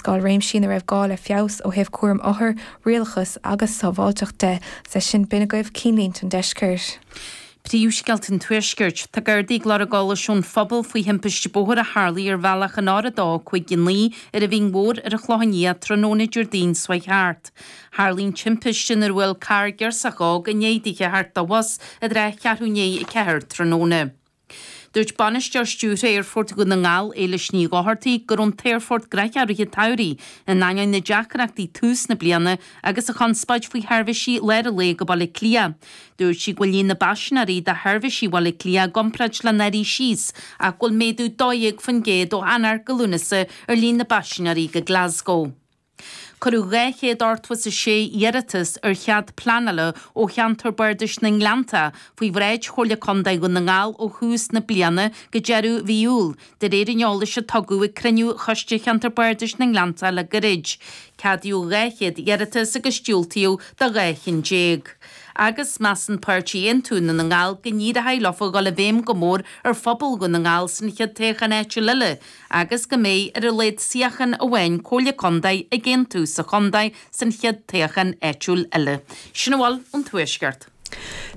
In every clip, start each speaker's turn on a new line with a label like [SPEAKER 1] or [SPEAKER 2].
[SPEAKER 1] léarscáil réimsí ina raibh gá le feabhas ó thaobh cúram othar, rialachas agus sábháilteacht de. Is é sin, b'in agaibh cinnlínte an deiscirt.
[SPEAKER 2] Príomhscéalta an Tuaiscirt. Tá Gardaí ag lorg eolais ón phobal faoi thimpiste bóthair a tharlaigh ar bhealach an R2 5 9 ar an Mhín Mhór ar an Chlochán Liath tráthnóna Déardaoin seo chuaigh thart. Tharlaigh an timpiste nuair a bhuail carr girsach óg i ndiaidh di a theacht dá bhus i dtrátha cheathrú i ndiaidh 4 tráthnóna. Dúirt Bainisteoir Stiúrtha Aerfort Dhún na nGall, Éilis Ní Dhochartaigh, go raibh an t-aerfort gnoitheach i rith an tsamhraidh, in ainneoin na deacrachtaí tús na bliana agus an chonspóid faoi sheirbhísí lár an lae go Baile Átha Cliath. Dúirt sí go bhfuil líon na bpaisinéirí do sheirbhísí Bhaile Átha Cliath i gcomparáid le anuraidh síos ach go bhfuil méadú 12% ó Eanáir go Lúnasa ar líon na bpaisinéirí go Glasgow. Cuireadh 286 iarratas ar chead pleanála ó cheantar bardais na nGleanntach faoi bhráid Chomhairle Contae Dhún na nGall ó thús na bliana go deireadh mhí Iúil, de réir an eolais a tugadh ag cruinniú Choiste Cheantar Bardais na nGleanntach le gairid. Ceadaíodh 200 iarratas agus diúltaíodh do 12 chinn. Agus measann páirtí Aontú Dhún na nGall go n-éireoidh leofa dhul i bhfeidhm go mór ar phobal Dhún na nGall san chéad toghchán áitiúil eile agus go mbeidh ar a laghad suíochán amháin Comhairle Contae ag Aontú sa chontae san chéad toghchán áitiúil eile. Sin a bhfuil ón Tuaisceart.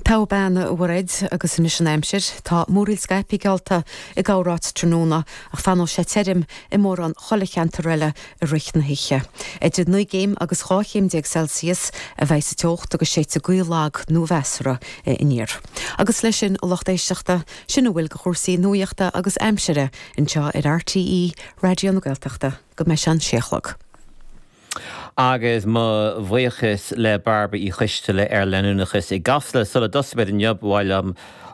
[SPEAKER 3] Togha bean, a Mhairéad, agus anois an aimsir. Tá múraíl scaipthe geallta i gcorráit tráthnóna ach fanóidh sé tirim i mórán chuile cheantar eile i rith na hoíche. Idir 9 gcéim agus 12 chéim Celsius a bheidh sa teocht agus séidfidh gaoth lag nó mheasartha aniar. Agus leis sin, a lucht éisteachta, sin a bhfuil de chúrsaí nuachta agus aimsire anseo ar RTÉ Raidió na Gaeltachta go mbeidh sé an sé a chlog.
[SPEAKER 4] Agus mo bhuíochas le Bairbre Uí Choisteala ar Leanúnachas i gCasla. Sula dtosaímid inniu, ba mhaith liom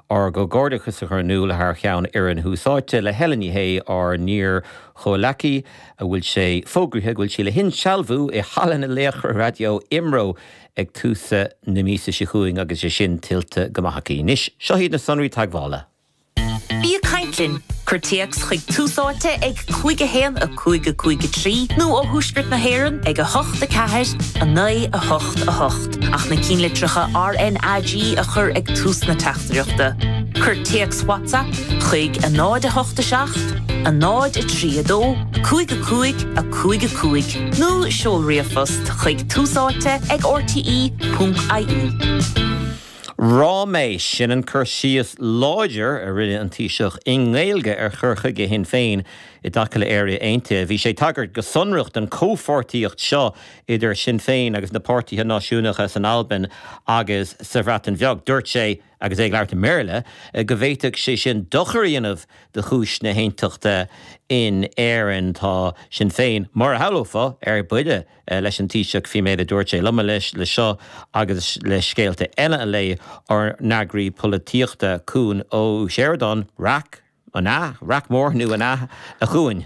[SPEAKER 4] ár gcomhghairdeachas a chur in iúl thar cheann fhoireann Thús Áite le Helen Ní Shé, ár n-iar-chomhleacaí, a bhfuil sé fógraithe go bhfuil sí le hinsealbhú i Halla na Laochra Raidió IMRO ag tús na míosa seo chugainn agus é sin tuillte go maith aici. Anois, seo iad na sonraí teagmhála.
[SPEAKER 5] Bí ag caint linn! Cuir téacs chuig Tús Áite ag 5 1 5 5 3 nó ó Thuaisceart na hÉireann ag 8 4 9 8 8 ach na cinnlitreacha RnaG a chur ag tús na teachtaireachta. Cuir téacs WhatsApp chuig 0 8 7 0 3 2 5 5 5 5 nó seol ríomhphost chuig túsáite ag rte.ie.
[SPEAKER 4] Ráiméis, sin an cur síos láidir a rinne an Taoiseach i nGaeilge ar chur chuige Shinn Féin i dtaca le Éire Aontaithe. Bhí sé ag tagairt go sonrach don chomhpháirtíocht seo idir Sinn Féin agus na páirtithe náisiúnacha san Albain agus sa Bhreatain Bheag. Dúirt sé, agus é ag labhairt i mBéarla, go bhféadfadh sé sin dochar a dhéanamh do chúis na haontachta in Éirinn. Tá Sinn Féin, mar a shamhlófá, ar buile. leis an Taoiseach faoin méid a dúirt sé. Liom anois le seo agus le scéalta eile a lé, ár n-eagraí polaitíochta, Cuan Ó Seireadáin, Raic, an ea? Raic mór nó an ea, a Chuain?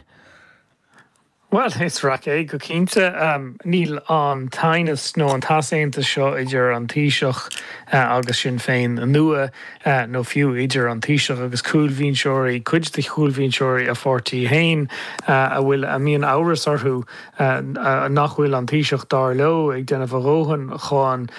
[SPEAKER 6] Bhuel, is raic é go cinnte. Níl an t-aighneas nó an t-easaontas seo idir an Taoiseach agus Sinn Féin nua, nó fiú idir an Taoiseach agus cúlbhinseoirí, cuid de chúlbhinseoirí a pháirtí féin, a bhfuil, a mbíonn amhras orthu nach bhfuil an Taoiseach, dar leo, ag déanamh a dhóthain chun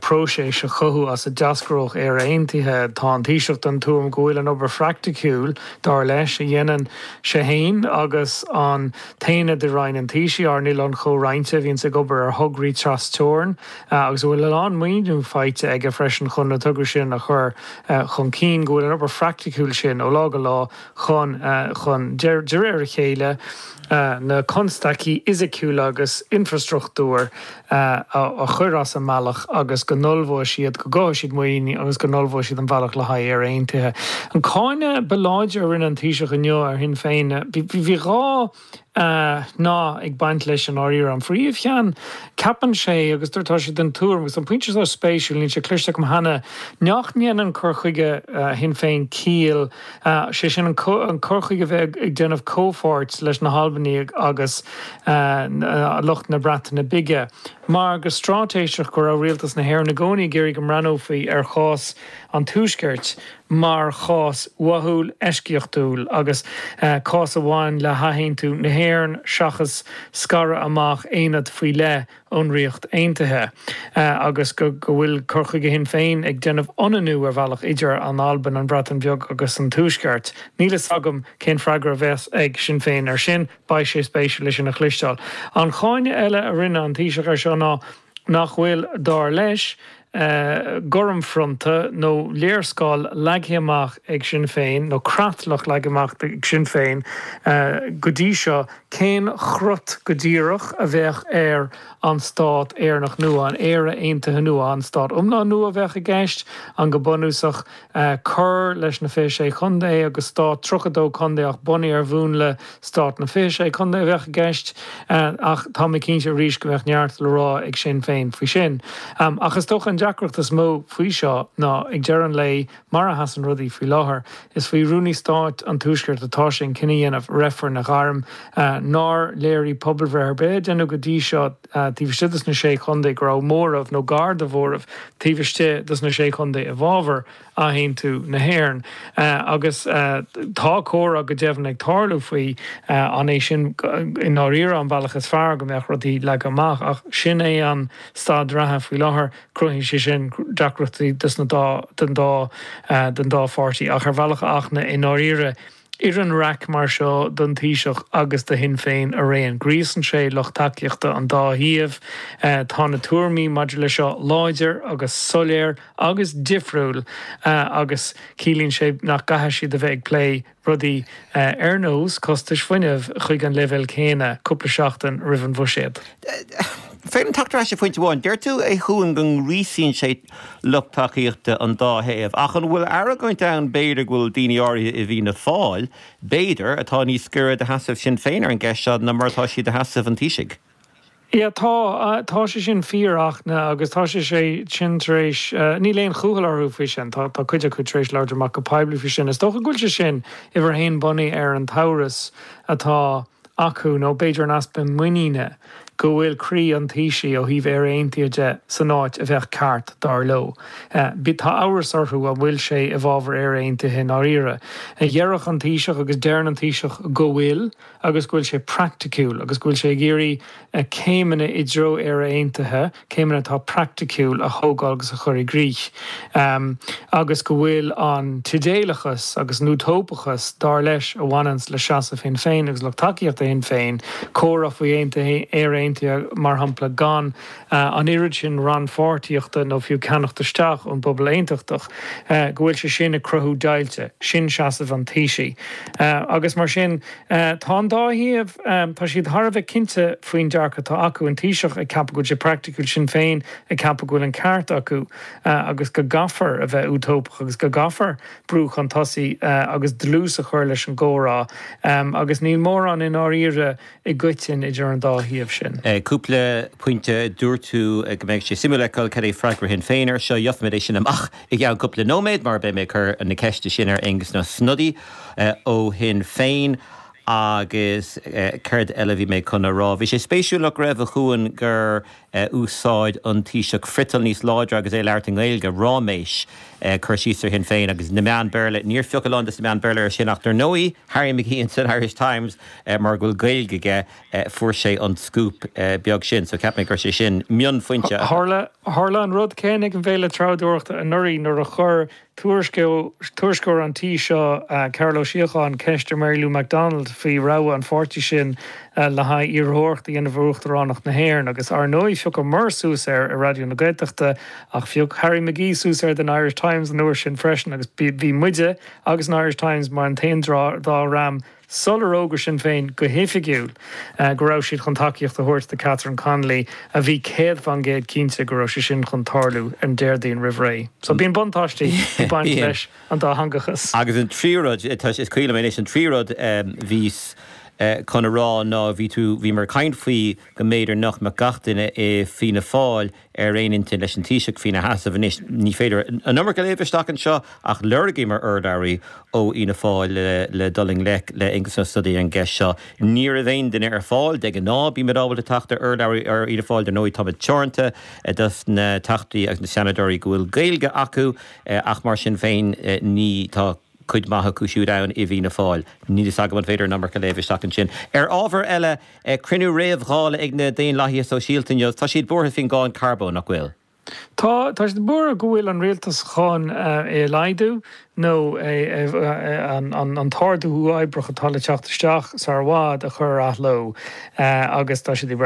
[SPEAKER 6] próiseas a chothú as a d'eascródh Éire Aontaithe. Tá an Taoiseach den tuairim go bhfuil an obair phraiticiúil, dar leis, a dhéanann sé féin agus an t-aonad i Roinn an Taoisigh, ár n-oileán chomhroinnte, a bhíonns ag obair ar thograí trasteorann agus a bhfuil a lán maoiniú faighte aige freisin chun na tograí sin a chur chun cinn, go bhfuil an obair phraiticiúil sin ó lá go lá chun, chun, de réir a chéile, na constaicí fhisiciúla agus infreastruchtúir a chur as an mbealach agus go n-ullmhóidh siad, go gcothóidh siad muinín agus go n-ullmhóidh siad an bealach le haghaidh Éire Aontaithe. An cáineadh ba láidre a rinne an Taoiseach inniu ar Shinn Féin, bhí 2 nath ag baint leis i ndáiríre. An phríomhcheann, ceapann sé, agus tá sé den tuairim, agus an pointe seo spéisiúil, níl sé cloiste agam cheana, nach ndéanann cur chuige Shinn Féin ciall, sé sin an cur chuige a bheith ag déanamh comhpháirt leis na hAlbanaigh agus lucht na Breataine Bige. mar go straitéiseach go raibh rialtas na hÉireann i gcónaí ag iarraidh go mbreathnófaí ar chás an Tuaiscirt mar chás uathúil, eisceachtúil agus cás a bhain le hathaontú na hÉireann seachas scaradh amach aonad faoi leith ón Ríocht Aontaithe agus go bhfuil cur chuige Shinn Féin ag déanamh ionannú ar bhealach idir an Albain, an Bhreatain Bheag agus an Tuaisceart. Níl fhios agam cén freagra a bheas ag Sinn Féin air sin. Beidh sé spéisiúil é sin a chloisteáil. An cáineadh eile a rinne an Taoiseach air seo ná nach bhfuil, dar leis, gairmfhronta nó léarscáil leagtha amach ag Sinn Féin, nó creatlach leagtha amach ag Sinn Féin go dtí seo, cén chrot go díreach a bheadh ar an stát Éireannach nua, an Éire Aontaithe nua, an stát iomlán nua a bheadh i gceist, an go bunúsach cur leis na 26 chontae agus stát 32 contae ach bunaithe ar mhúnla stát na 26 contae a bheadh i gceist. Ach tá mé cinnte arís go mbeadh neart le rá ag Sinn Féin faoi sin. Ach is dócha an deacracht is mó faoi seo ná ag deireadh an lae, mar a sheasann rudaí faoi láthair, is faoi Rúnaí Stáit an Tuaiscirt atá sé an cinneadh a dhéanamh, reifreann a ghairm. Nár léirigh pobalbhreith ar bith a deineadh go dtí seo taobh istigh dos na Sé Chontae go raibh móramh nó gar do mhóramh taobh istigh dos na Sé Chontae i bhfabhar athaontú na hÉireann. Agus tá comhrá go deimhin ag tarlú faoi an é sin i ndáiríre an bealach is fearr go mbeadh rudaí leagtha amach. Ach sin é an staid reatha faoi láthair. Cruthaíonn sé sin deacrachtaí dos na dá don dá don dá pháirtí. Ach ar bhealach a Fhachtna i ndáiríre, oireann raic mar seo don Taoiseach agus do Shinn Féin araon. Gríosann sé lucht tacaíochta an dá thaobh. Tá na tuairimí maidir le seo láidir agus soiléir agus difriúil agus ciallaíonn sé nach gcaithfidh siad a bheith ag plé rudaí ar nós costais fuinnimh chuig an leibhéal céanna cúpla seachtain roimh an bhuiséad.
[SPEAKER 4] Féidir liom teacht ar ais ar phointe amháin. Deir tú, a Chuain, go ngríosaíonn sé lucht tacaíochta an dá thaobh, ach an bhfuil argóint ann b'fhéidir go bhfuil daoine áirithe i bhFianna Fáil, b'fhéidir, atá níos gaire do sheasamh Shinn Féin ar an gceist seo ná mar atá siad do sheasamh an Taoisigh?
[SPEAKER 6] Yeah, tá, tá sé sin fíor, a Fhachtna, agus tá sé sé sin tar éis, níl aon chúthail orthu faoi sin, tá, tá cuid acu tar éis labhairt amach go poiblí faoi sin. Is dócha go bhfuil sé sin uimhir a haon bunaithe ar an t-amhras atá acu, nó b'fhéidir an easpa muiníne, go bhfuil croí an Taoisigh ó thaobh Éire Aontaithe de san áit a bheadh ceart, dar leo. Tá amhras orthu an bhfuil sé i bhfabhar Éire Aontaithe i ndáiríre. Déarfadh an Taoiseach agus deireann an Taoiseach go bhfuil. agus go bhfuil sé praiticiúil agus go bhfuil sé ag iarraidh céimeanna i dtreo Éire Aontaithe, céimeanna atá praiticiúil, a thógáil agus a chur i gcrích. Agus go bhfuil an t-idéalachas agus an útóipeachas, dar leis, a bhaineanns le seasamh Shinn Féin agus lucht tacaíochta Shinn Féin, comhrá faoi Éire Aontaithe, mar shampla, gan an oiread sin rannpháirtíochta nó fiú ceannacht isteach ón bpobal aontachtach, go bhfuil sé sin ag cruthú deighilte. Sin seasamh an Taoisigh. Agus mar sin, tá an dá thaobh, tá siad thar a bheith cinnte faoin dearcadh atá acu, an Taoiseach ag ceapadh go bhfuil sé praiticiúil, Sinn Féin ag ceapadh go bhfuil an ceart acu agus go gcaithfear a bheith útóipeach agus go gcaithfear brú chun tosaigh agus dlús a chur leis an gcomhrá. Agus níl mórán i ndáiríre i gcoiteann idir an dá thaobh sin.
[SPEAKER 4] Cúpla pointe, dúirt tú go mbeidh sé suimiúil a fheiceáil cad é freagra Shinn Féin air seo. Gheobhaimid é sin amach i gceann cúpla nóiméad mar beidh mé ag cur na ceiste sin ar Aengus Ó Snodaigh ó Shinn Féin. Agus céard eile a bhí mé chun a rá? Bhí sé spéisiúil nach raibh, a Chuain, gur úsáid an Taoiseach friotal níos láidre agus é ag labhairt i nGaeilge, ráiméis, cur síos ar Shinn Féin agus na meáin Béarla. Níor phioc a lán de na meáin Béarla air sin ach dar ndóigh, Harry McGee san Irish Times, mar go bhfuil Gaeilge aige, fuair sé an scúp beag sin. So cheap mé go raibh sé sin mionphointe.
[SPEAKER 6] Tharla an rud céanna ag an bhFéile Treabhdóireachta anuraidh nuair a chuir Tuairisceoir an tí seo, Cearbhall Ó Síocháin, ceist ar Mary Lou McDonald faoi rogha an pháirtí sin le haghaidh iarrthóireacht a dhéanamh ar Uachtaránacht na hÉireann agus, ar ndóigh, phiocamar suas air i Raidió na Gaeltachta ach phioc Harry McGee suas air den Irish Times an uair sin freisin agus bhí muide agus an Irish Times mar an t-aon dá dhream sular fhógair Sinn Féin go hoifigiúil go raibh siad chun tacaíocht a thabhairt do Catherine Connolly, a bhí 100% cinnte go raibh sé sin chun tarlú an Déardaoin roimh ré. So bíonn buntáistí ag baint leis an dátheangachas.
[SPEAKER 4] Agus an tríú rud, is cuimhin liom anois, an tríú rud, bhíos. chun a rá ná bhí tú, bhíomar ag caint faoi go mb'fhéidir nach mbeadh gach duine i Fianna Fáil ar aon intinn leis an Taoiseach faoina sheasamh anois. Ní féidir an iomarca a léamh isteach anseo ach lorgaíomar urlabhraí ó Fhianna Fáil le dul i ngleic le Aengus Ó Snodaigh ar an gceist seo. Ní raibh aon duine ar fáil. De ghnáth bímid ábalta teacht ar urlabhraí ó Fhianna Fáil. Dar ndóigh táimid teoranta dos na Teachtaí agus na Seanadóirí go bhfuil Gaeilge acu ach mar sin féin ní tá cuid mhaith acu siúd ann i bhFianna Fáil. Níl fhios agam an féidir an iomarca a léamh isteach ansin. Ar ábhar eile, cruinniú réamh-Dhála ag na Daonlathaithe Sóisialta inniu. Tá siad buartha faoin gcáin carbóin, nach bhfuil?
[SPEAKER 6] Tá, tá siad buartha go bhfuil an rialtas chun é a laghdú nó an t-ardú uathoibríoch atá le teacht isteach sar i bhfad a chur ar athló agus tá siad ag.